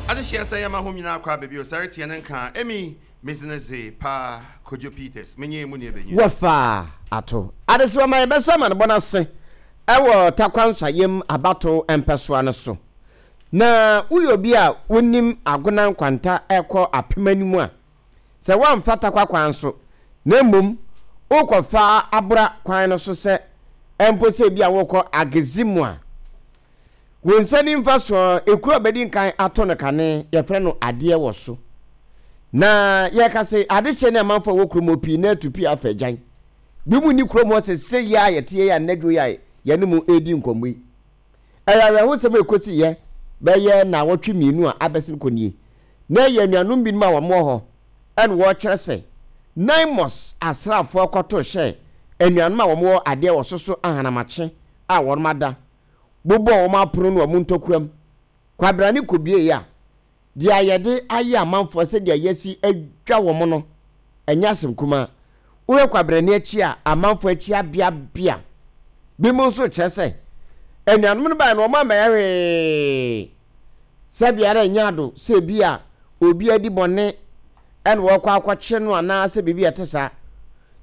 Adehyeɛ sɛ yɛma hom nyinaa kɔ aba bio sɛ retseɛ ne nka a, emi medze no dze paa Kojo Peters, menye mo nuabanyin. Wɔfa ato adesoa ma yɛbɛsɔ amanebɔ no ase wɔ Tarkwa Nsɔayam abatow mpɛsoa no so. Na woyɛ obi a wonim Agona nkwanta rekɔ apem anim a, sɛ woamfa Tarkwa kwan so na mmom worekɔfa Abora kwan no so sɛ mpo sɛ ebia worekɔ Agezimu a, Wo nsa nimfa so ekuro a bɛdi nkan ato no kane, yɛfrɛ no adeɛ wɔ so. Na yɛka se adehyɛ ne amanfoɔ a ɛwɔ kurom hɔ pii na atu pii afa agyan. Binom nni kurom hɔ sesei yi a yɛte yi a nnadwo yi a yɛne mo redi nkɔmmɔ yi. Ɛyɛ awerɛhosɛm a ɛkɔsiiɛ bɛyɛ nnawɔtwe mmienu a abɛsen kɔ nie. Na ɛyɛ anuanom binom a wɔwɔ hɔ na wɔrekyerɛ sɛ Naimos asraafoɔ kɔto hyɛɛ anuanom a wɔwɔ adeɛ wɔ so so ahanamakye a wɔada bobɔɔ wɔn apono ne wɔn ntɔkuam. Kwabrane kɔbueeɛ a, deɛ yɛde ayɛ amanfoɔ sɛdeɛ yɛasi adwa wɔn no, ɛnyɛ asɛm kumaa. Wohwɛ kwabrane akyi a, amanfoɔ akyi abeabea. Binom nso kyerɛ sɛ, anuanom no baeɛ no, wɔammɛyɛ hwee. Sɛ biara ɛnyɛ ado sɛ ebi a obi adi bɔne na wɔrekɔ akɔkye no anaasɛ biribi a ɛte saa,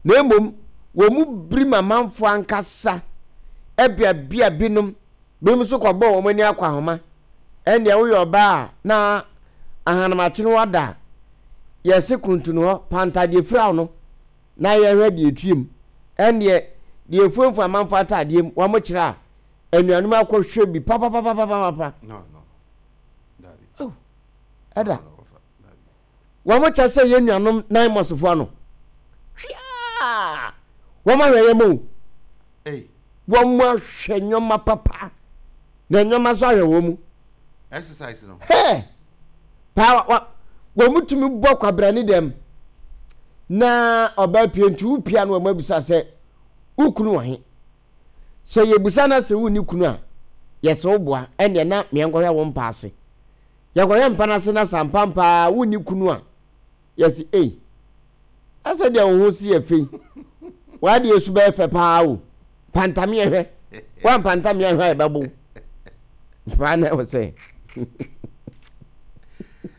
na mmom wɔn mu birim amanfoɔ ankasa beabea binom, binom nso kɔbɔɔ wɔn ani akɔahoma. Ɛndeɛ woyɛ ɔbaa a na ahanamakye no wada a, yɛse kuntunu hɔ, panta deɛ fira wo no na yɛhwɛ deɛ ɛtue mu. Ɛndeɛ deɛ ɛfuamfua amanfoɔ ataadeɛ mu, wɔn kyerɛ a, anuanom akɔhwɛ bi papapapapapa. No, no. Dabi. Oh, ɛda. Wɔn kyɛ sɛ yɛn nuanom Naimɔsfoɔ ano. Hwia! Wɔn ahwɛ yɛn o. Wɔn ahwɛ nneɛma papa. Na nneɛma nso ahwɛ wɔn mu. Exercise no. Hɛ! Paa wa wɔn tumi bɔ kwabrane dɛm. Na ɔbaa pie nti wopia no wɔn abisa sɛ wokunu wɔ he? Sɛ yɛbisa na sɛ wonni kunu a, yɛsɛ wo boa, ɛnneɛ na meɛnkɔhwɛ wo mpa ase. Yɛkɔhwɛ mpa no ase na sɛ ampampa ara wonni kunu a, yɛse ei, na sɛdeɛ wo ho si yɛ fɛ yi, w'adeɛ su bɛyɛ fɛ paa o, pantame ɛhwɛ, woampantame ahwɛ a yɛbɛbo wo. Paa na ɛwɔ sɛ.